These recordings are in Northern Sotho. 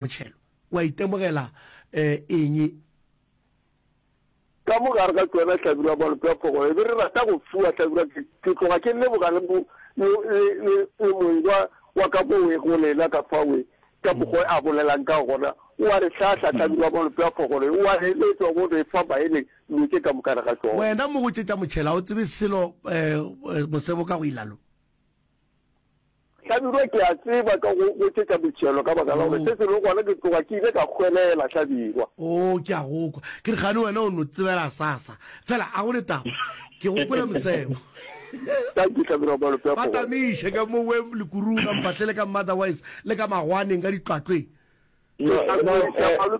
Motšhelo, wa itemogela eng? Ka mo gare ga tšona Hlabirwa malope a phogolo e be re rata go fiwa Hlabirwa ke, ke tloga ke leboga le mo, le, le, le, le moeng wa, wa ka mo we go lena ka fa we, ka mokgwa a bolelang ka gona, o a re hlahla Hlabirwa malope a phogolo o a re eletša o bo re fa maele dilo tše ka moka ga tšona. Wena mo go tše tša motšhelo ga o tsebe selo mosebo ka go ilalo. Hlabirwa, Ke a tseba ka go go tšetša motšhelo ka baka la gore se sengwe gona ke tloga ke ile ka hwelela, Hlabirwa. Oo, ke a go kwa. Ke re kgane wena o no tsebela sasa. Fela a go ne taba. Ke go kwele mosebo. Thank you, Hlabirwa Malope a Ba Phogolo. tamiše ka mo we Lekuruga, Mpahlele ka Motherwise le ka Magwaneng ka ditlwatlweng. Ke tla dumediša malo,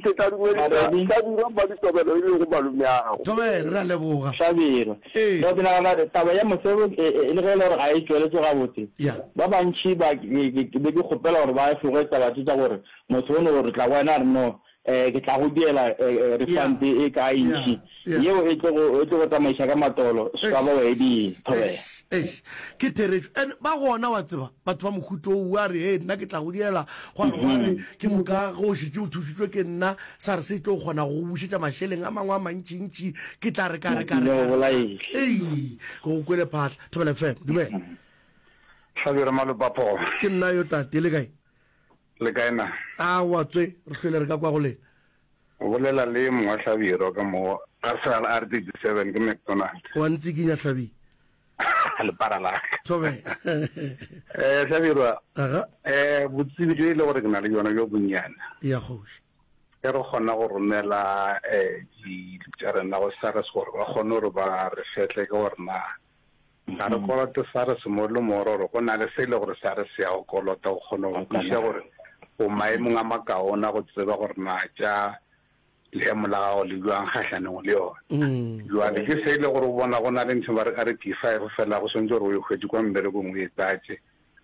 ke tla dumediša Hlabirwa Mmaditobelo e lego malomeago. Thobela, re a leboga. Hlabirwa. Ee. No, ke nagana gore taba ya mosebo e, e, le ge e le gore ga e tšweletše gabotse, Ya. ba bantši ba, ke, ke, ke be ke kgopela gore ba efoge taba tše tša gore motho o no re tla go wena a re no, eh, ke tla go diela eh, eh, refund Ya. e kae Ya. ntši, Ya. yeo e tlo go, e tlo go tsamaiša ka matolo, se ka Eish. ba wa e diela. Thobela. Eish. Eish, ke therešo. And ba gona, wa tseba, batho ba mohuta wo, a re, Hei, nna ke tla go diela, gwa re, gwa re, ke moka ge o šetše o thušitšwe ke nna, sa re se tlo kgona go go bušetša mašeleng a mangwe a mantšintši, ke tla re ka re ka re ka re. Ei, ke go kwele phatla. Thobela FM, dumela. Hlabirwa Malopaphogo. Ke nna yo tate, le kae? Le kae na? Aowa tswe, re hlwele re ka kwa go lena. O bolela le mongwa Hlabirwa ka mo ga sala R37 ke McDonald. Wa ntsikinya Hlabirwa. Lepara la ka. Thobela. Eh Hlabirwa. Aga. Eh botsebi jo e le gore ke na le bjona bjo bonnyane. Ya kgoši. Ge re kgona go romela eh dilo tša rena go SARS gore ba kgone gore ba re fetle ke gore na Ga re kolote SARS mo le mo gore go na le se e le gore SARS ya go kolota go kgona go kwešiša gore o maemong a makaone a go tseba gore na tša leemo la gago le bjang kgahlanong le yona. Bjale ke se e le gore o bona go na le ntho ba re a re P5 fela go swanetše gore o e hwetše kwa mmerekong o e tlatše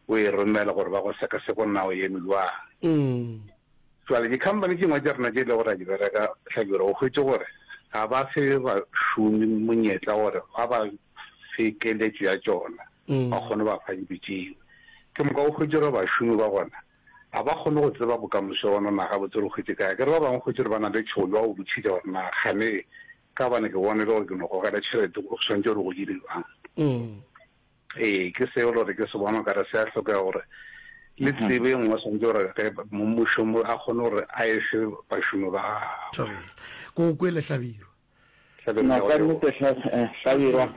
o e romele gore ba go sekaseke gore na o eme bjang. Jwale di-company tše dingwe tša rena tše e le gore ra di bereka Hlabirwa, o hwetše gore ga ba fe bašomi monyetla gore ba ba fe keletšo ya tšona, ba kgone ba fa dilo tšeo. Ke moka o hwetše gore bašomi ba gona ga ba kgone go tseba bokamoso bona na gabotse re hwetše kae. Akere ba bangwe o hwetše gore ba na le tšhogo ba go botšiša gore na kgane ka gobane ke bone le gore ke no gogela tšhelete go swanetše gore go dire bjang. Ee, ke seo le gore ke se bona o kare se a hlokega gore le tsebe e nngwe swanetše gore ge mongmošomo a kgone gore a e fe bašomi ba gagwe. Thobela. Ko go kwele Hlabirwa. Hlabirwa No, ke a go ka leboga. nnete Hlabirwa.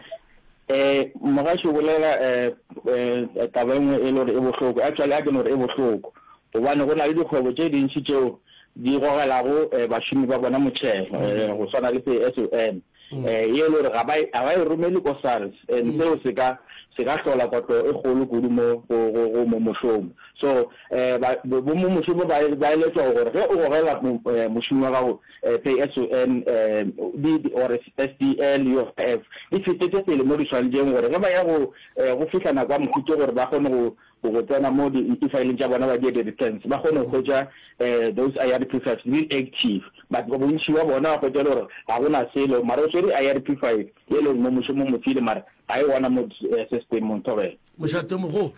Eh, mogaši o bolela eh, eh, taba e nngwe e le gore e bohloko. Actually a ke no re e bohloko. Gobane go na le dikgwebo tše dintši tšeo di gogelago eh, bašomi ba bona motšhelo, eh, go swana le SON. Eh, ye e le gore ga ba e, ga ba e romele ko SARS, and seo se ka, se ka hlola kotlo e kgolo kudu mo go, go, go mongmošomo. So, eh, ba, bo, bo mongmošomo ba, ba eletšwa gore ge o gogela mo, eh, mošomi wa gago, eh, pay as you earn, eh, di, di, or SDL, UIF, di fetetše pele mo di swanetšeng gore ge ba ya go, eh, go fihla nako ya mohuto gore ba kgone go, go go tsena mo di-e-fileng tša bona ba die di-returns ba kgone go hwetša um those IRP fives di active but bontši ba bona ba hwetša e le gore ga go na selo mara o swere IRP five e le gore mo mošomo mo file mara ga e gona mo systemong thobela. Mošate o mogolo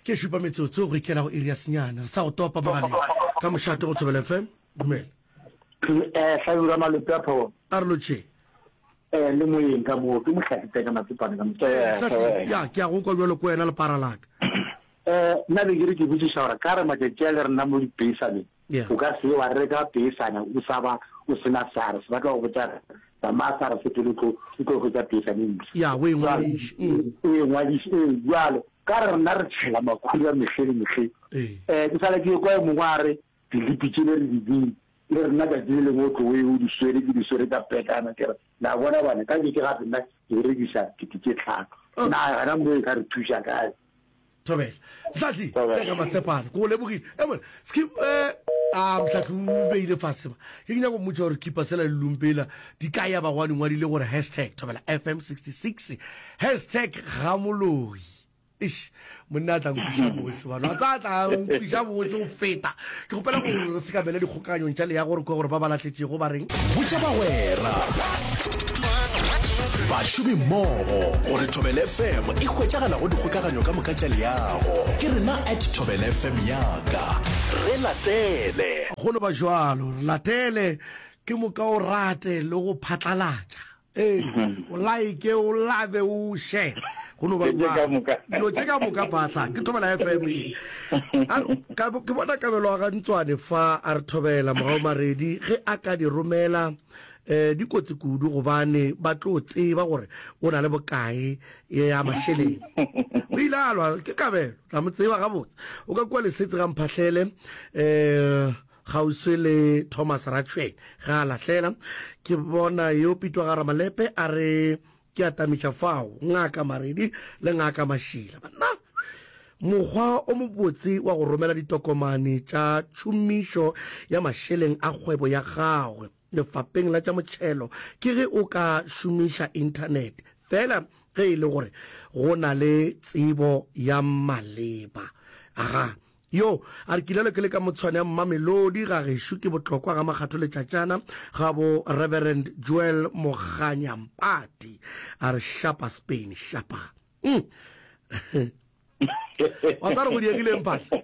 ke šupa metsotso go ikela go iri ya senyane. Re sa go topa mogaleng ka mošate go Thobela FM. Dumela. Eh, Hlabirwa Malope a Phogo. A re lotšheng. Eh, le moyeng ka moo, ke Mohlahli Teka Matsepane ka mo. Eh, Mohlahli, ya, ke a go kwa bjalo ko wena lepara la ka. Eh, nna be ke re ke botšiša gore ka re matšatši a le rena mo dipeisaneng, Yeah. o ka se wa reka peisana o sa ba o se na SARS, ba tla go botša re tsamaya SARS pele o tlo o tlo hwetša peisane e mpsha. Ya, o e ngwadiše. Mm. O e ngwadiše, ee, bjalo ka re rena re tšhela makhura mehleng le mehleng. Ee. Eh, ke sale ke ekwa e mongwe a re dilipi tšele re di bile, Le rena tšatši le lengwe o tlo o ye o di swere, ke di swere ka pekana, ke re, La bona bana, ka nke ke gape nna ke berekiša kete tše tlhano. Na gona mo e ka re thuša kae? Thobela. Mhlahli, teka Matshepane, ke go lebogile. E mone, skip, eh, a Mhlahli o beile fase ba. Ke ke nyaka go mmotša gore khipa sela le lumpela di ka ya ba gwa di ngwadile gore hashtag Thobela FM 66, hashtag Gamoloi. Eish, monna a tla nkwiša bose bano a tla tla nkwiša bose go feta ke kgopela gore re se ka bele dikgokaganyong tša leago re kwe gore ba ba lahletšego ba reng Botša bagwera, bašomi mmogo gore Thobela FM e hwetšagala go dikgokaganyo ka moka tša leago. Ke rena at Thobela FM yaka. Re latele. Go no ba jwalo, re latele, ke moka o rate le go phatlalatša. Ee, o like, o love, o share. Go no ba jwalo. Dilo tše ka moka phahla, ke Thobela FM ye. A re, ka, ke bona Kabelo wa ga Ntswane fa a re thobela Mogau Maredi ge a ka di romela eh, di kotsi kudu gobane ba tlo tseba gore o na le bokae ya mašeleng. O ile a lwa ke Kabelo, tla mo tseba gabotse. O ka kua Lesetse ga Mphahlele eh kgauswi le Thomas Ratšhweng ga a lahlela. Ke bona yo Pitwa ga Ramalepe a re ke atamiša fao Ngaka Maredi le Ngaka Mašila. Banna, mokgwa o mobotse wa go romela ditokomane tša tšhomišo ya mašeleng a kgwebo ya gagwe lefapeng la tša motšhelo ke ge o ka šomiša inthanete feela ge e le gore go na le tsebo ya maleba. Aga, yo a re kilelo ke le ka motshwane ya Mmamelodi ga gešo ke botlokwa ga Makgatho Letšatšana ga bo Reverend Joel Moganyampati a re shapa Spain shapa. Mm. Wa tla re go diegileng phahla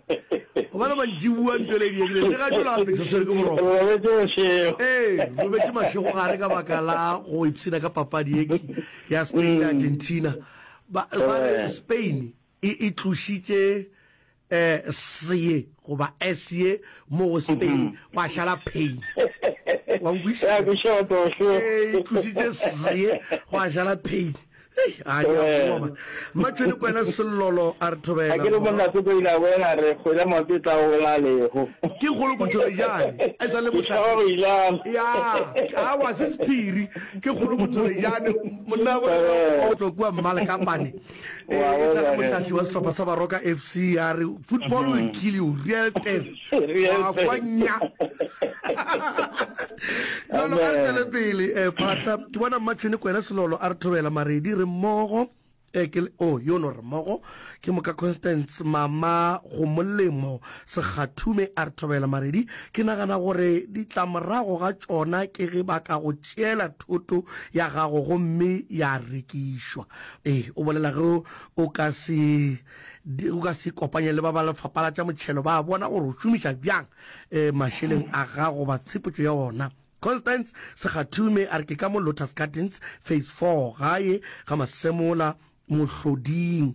gobane mantšibua nto le diegileng le ga jolo gape sa tshwere ke boroko. Ee, robetše mašego gare ka baka la go ipshina ka papadi ye ya Spain le Argentina. Ba ba re Spain e e tlošitše eh S ye goba S ye mo go Spain gwa šala pain. Wa nkwešiša? Ee, e tlošitše S ye gwa šala pain. Hei, a di a boa man. Mmatšhweni Kwena Sellolo a re thobela. A ke re monna Tsoko ile a boela a re kgwele maoto e tla gola leho. Ke kgolo Bothobejane e sa le mohlahli. Ya, awa se sephiri. Ke kgolo Bothobejane monna wa bona o tšwa kua Mmalekapane. E sa le mohlahli wa sehlopha sa Baroka FC a re football will kill you, real death. Wa kwa nya. Jalo a re tšwele pele eh, Phatla. Ke bona Mmatšhwene Kwena Selolo a re thobela Maredi re mmogo eh, ke oh yo no re mmogo ke moka Constance Mama go molemo Sekgathume a re thobela Maredi ke nagana gore ditlamorago ga tšona ke ge ba ka go tšeela thoto ya gago gomme ya rekišwa. Ee, o bolela ge o ka se o ka se ikopanye le ba ba lefapha la tša motšhelo ba bona gore o šomiša bjang eh, mašeleng a gago goba tshepetšo ya ona. Constance Segathume a re ke ka mo Lotus Gardens Phase 4 gae ga Masemola Mohloding.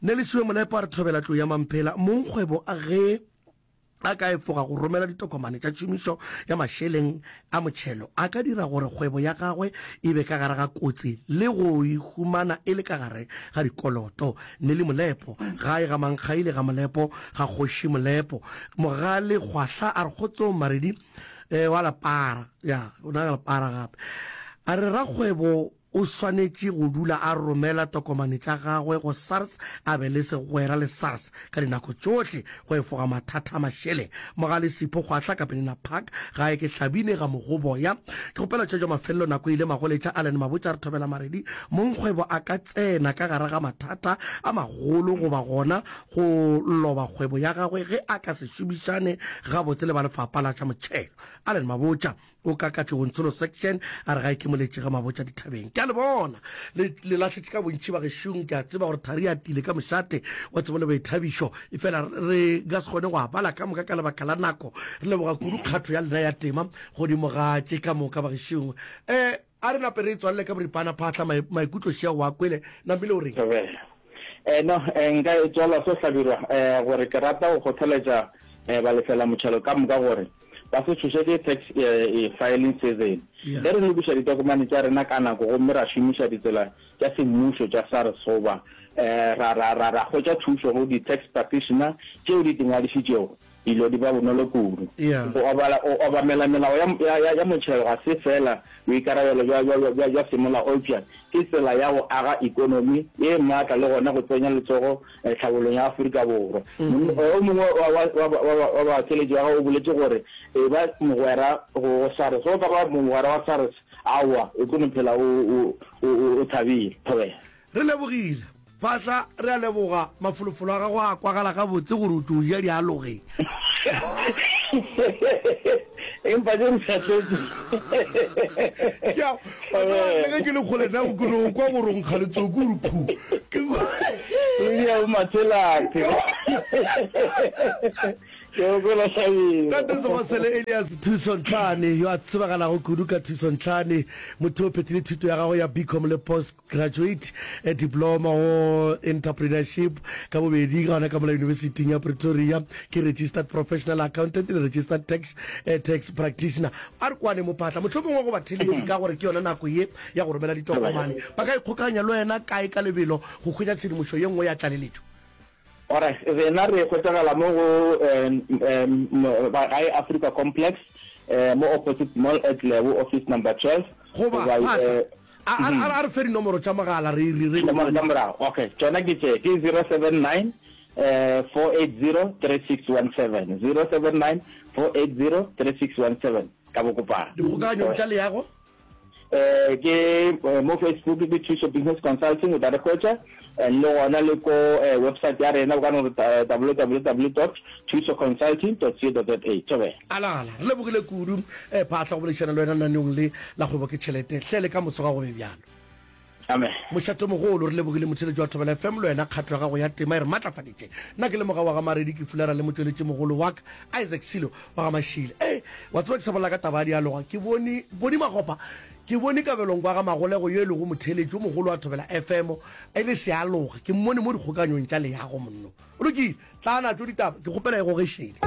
Nelisiwe Molepo a re thobela tlou ya Mamphela mongkgwebo a ge a ka efoga go romela ditokomane tša tšhomišo ya mašeleng a motšhelo, a ka dira gore kgwebo ya gagwe e be ka gare ga kotsi le go e humana e le ka gare ga dikoloto. Nelly Molepo, gae ga Mankgaile ga Molepo ga Kgoši Molepo. Mogale Kgwahla a re kgotsong Maredi eh, wa lepara, ya, o na lepara gape. A re rakgwebo O swanetše go dula a romela tokomane tša gagwe go SARS a be le segwera le SARS ka dinako tšohle go efoga mathata a mašeleng. Mogale Sipho Kgwahla ka Penina Park, gae ke Hlabine ga Mogoboya. Ke kgopela tšetšo mafelelo nako e ile magoletša Allen Mabotja re thobela Maredi mongkgwebo a ka tsena ka gare ga mathata a magolo goba gona go loba kgwebo ya gagwe ge a ka se šomišane gabotse le ba lefapha la tša motšhelo. Allen Mabotja. O ka Katlehong Tsholo Section a re ga e ke moletše ga Mabotja dithabeng. Ke a le bona le le lahletše ka bontši bagešong. Ke a tseba gore thari ya tile ka mošate wa tsebo le boithabišo, efela re ka se kgone go a bala ka moka ka lebaka la nako. Re leboga kudu kgatho ya lena ya tema godimo ga tše ka moka bagešong. Um a re nape re e tswalele ka boripana Phaahla maikutlo šea o a kwele. Namile o reng? Thobela. Eh, no, eh, nka e tswala so Hlabirwa, eh, gore ke rata go kgothaletša eh, balefela motšhelo ka moka gore ba se tšhoše ke tax filing season. Ge re lokiša ditokomane tša rena ka nako gomme ra šomiša ditsela tša semmušo tša SARS goba ra, ra, ra, ra hwetša thušo go di-tax practitioner tšeo di ingwadišitšego, dilo di ba bonolo kudu. Go obala, go obamela melao ya, ya, ya, ya motšhelo ga se feela boikarabelo bja, bja, bja, bja semolao eupša ke tsela ya go aga ekonomi ye maatla le gona go tsenya letsogo tlhabolong ya Afrika Borwa. O mongwe wa batheeletši ba gagwe o boletše gore, Eba mogwera go SARS. Ge o ka ba mogwera wa SARS, aowa, o tlo no phela o thabile. Thobela. Re lebogile. Phatla, re a leboga. Mafolofolo a gago a kwagala gabotse gore o tlo ja dialogeng. Empa ke ntlhatletse. Ya, wa tseba le ge ke le kgole nna ke no kwa gore o nkga letsoku o re phu. Ke Ya o mathelate. Ke go kwela Hlabirwa. Tate Segosele Elias Thuso Ntlhane, yo a tsebagalago kudu ka Thuso Ntlhane, motho o phethile thuto ya gagwe ya BCom le Post Graduate Diploma go Entrepreneurship ka bobedi gona ka mola Yunibesithing ya Pretoria. Ke Registered Professional Accountant le Registered Tax, Tax Practitioner. A re kwane mo Phatla, mohlomongwe go batheeletši ka gore ke yona nako ye ya go romela ditokomane. Ba ka ikgokaganya le wena kae ka lebelo go hwetša tshedimošo ye nngwe ya tlaleletšo? Alright, rena re hwetšagala mo go Gae Africa Complex, mo opposite Mall at Lebo, office number 12. Goba, Phatla, a, a, a re fe dinomoro tša mogala re, re, re. Dinomoro tša morago, okay, tšona ke tše, ke 079 480 3617, 079 480 3617, ka bokopana. Dikgokaganyong tša leago? Eh, ke eh, mo Facebook ke Thuso Business Consulting o tla re hwetša and le gona le ko eh, website ya rena o ka no re eh, www dot thusoconsulting dot co dot za. Thobela. Alala, re lebogile kudu eh, Phaahla go boledišana le wena lenaneong le la Kgwebo ke Tšhelete. Hle le ka moso ga go be bjalo. Amen. Mošatomogolo, re lebogile motheeletši wa Thobela FM le wena kgato ya gago ya tema e re matlafaditše. Nna ke le Moga wa ga Maredi ke fulara le motšweletšimogolo wa ka Isaac Silo wa ga Mashile. Ee, wa tseba ke sa bolela ka taba ya dialoga, ke bone Boni Magopa, ke bone Kabelong kwa ga Magolego yo e lego motheeletši o mogolo wa Thobela FM e le sealoga, ke mmone mo dikgokanyong tša leago monno. Go lokile, tla natšo ditaba, ke kgopela e goge šele.